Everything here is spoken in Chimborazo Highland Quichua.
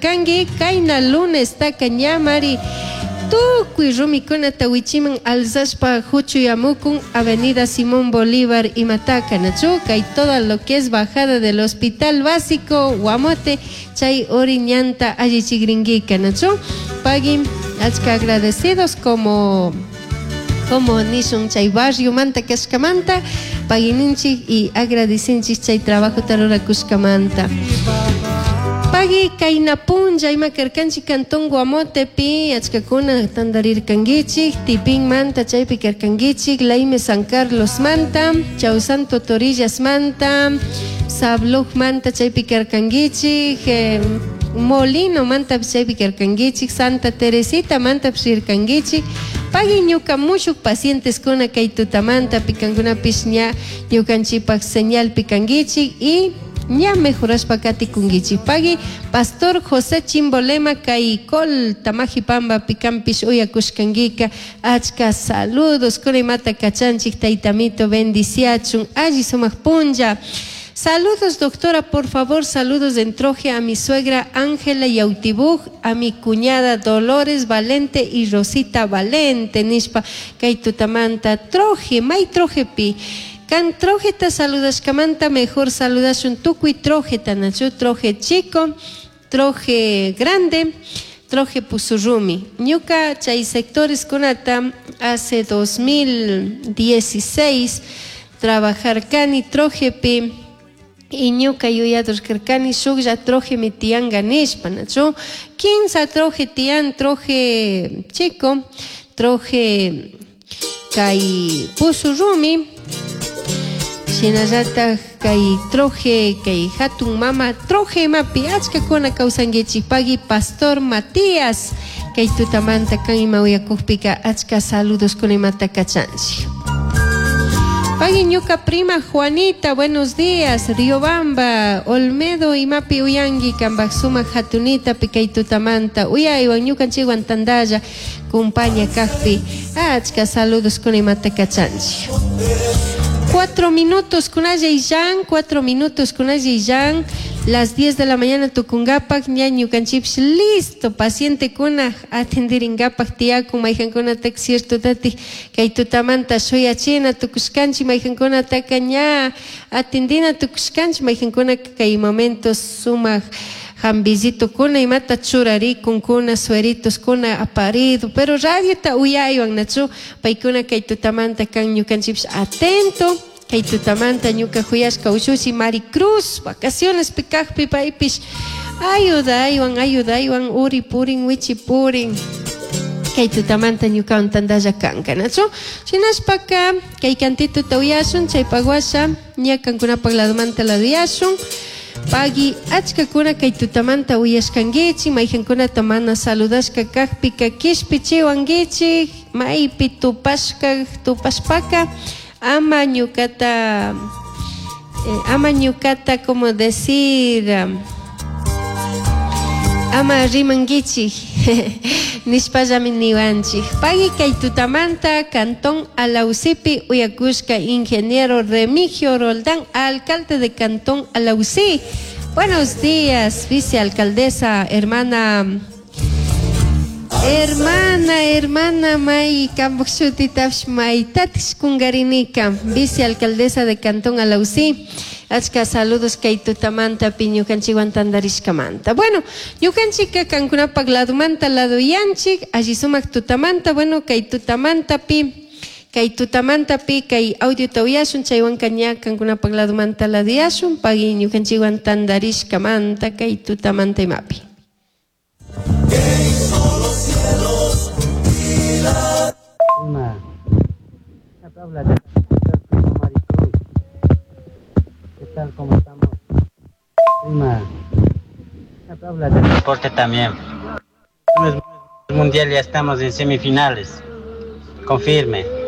churarkanki kayna lunestaka ñamari tukuy rumikunata wichiman alzashpa huchuyamukun Avenida Simón Bolívar imataka nachu kay todo lo que es bajada del Hospital Básico Guamote chay uri ñanta allichikrinkika nachu pagui achka agradecidos como como nishun chay barriomanta kashkamanta paguininchik y agradecinchik chay trabajota rurakushkamanta. Pagui kayna punlla ima karkanchik Cantón Guamotepi achkakuna tantarirkankichik Tipinmanta chaypi karkankichik Laime San Carlosmanta Chausanto Torillasmanta Sablujmanta chaypi karkankichik Molinomanta chaypi karkankichik Santa Teresitamanta rirkankichik pagui ñuka mushuk pacienteskuna kay tutamanta pikankunapish ña ñukanchikpak señalpi kankichik y ña mejorashpa katikunkichik. Pagui Pastor José Chimbolema kay Col Tamajipamba pikanpish uyakushkankika achka saludos kunaymata kachanchik taytamito bendiciachun alli sumak punlla. Saludos, doctora, por favor, saludos de Entroje a mi suegra Ángela Yautibuj, a mi cuñada Dolores Valente y Rosita Valente, nishpa, kay tutamanta, troje, may troje pi. Kan trojeta saludashkamanta mejor saludashun tukuy trojeta, nachu troje chico, troje grande, troje pusurrumi. Ñuka chay sectores kunata hace 2016 trabajar kani trojepi y ñuka yuyadur karkani shuklla troje mi tianga nishpa, nachu kinsa troje tian, troje chico, troje kay pusurrumi, shinallatak kay troje, kay hatun mama troje imapi achkakuna kawsankichik pagui Pastor Matías kay tutamanta kan ima uyakukpika achka saludos kuna imata kachanchik. Pagui ñuka prima Juanita, buenos días, Riobamba, Olmedo imapi uyanki kanpak sumak hatunita pi kay tutamanta uyaywan ñukanchikwan tantalla kumpaña kakpi achka saludos kuna imata kachanchik. 4 minutos kunalla illan, 4 minutos kunalla illan, las 10 de la mañana tukungapak ña ñukanchikpish listo, pacientekuna atendiringapak tiyakun mayjankunataka cierto tati kay tutamanta shuyachina tukushkanchik mayjankunataka ña atendina tukushkanchik mayjankunaka kay momento sumak jambillitokuna imata churarikunkuna sueritoskuna aparido pero radiota uyaywan nachu paykuna kay tutamanta kan ñukanchikpish atento kay tutamanta ñuka juyashka ushushi Maricruz vacacionespi kakpi paypish ayudaywan ayudaywan uri purin wichi purin kay tutamanta ñukawan tantalla kanka nachu shinashpaka kay cantituta uyashun chaypak washa ña kankunapak ladomanta laduyashun. Pagui achkakuna kay tutamanta uyashkankichik mayjankunata mana saludashka kakpika kishpichiwankichik maypi tupashka tupashpaka ama ñukata ama ñukata como decir ama rimankichik nishpallami niwanchik. Pagui kay tutamanta Cantón Alausipi uyakushka ingeniero Remigio Roldán, alcalde de Cantón Alausí. Buenos días, vicealcaldesa, hermana Hermana, hermana May Kambushutitash Maytatish Kungarinika, vicealcaldesa de Cantón Alausí. Achka saludos kay tutamanta pi ñukanchikwan tantarishkamanta. Bueno, ñukanchikka kankunapak ladumanta laduyanchik, alli sumak tutamanta, bueno, kay tutamanta pi, kay tutamanta pi, kay audiota uyashun, chaywanka ña kankunapak ladumanta laduyashun, pagui ñukanchikwan tantarishkamanta kay tutamanta imapi. Prima, habla de primo Maricruz. ¿Qué tal? ¿Cómo estamos? Prima, habla del deporte también. El mundial ya estamos en semifinales. Confirme.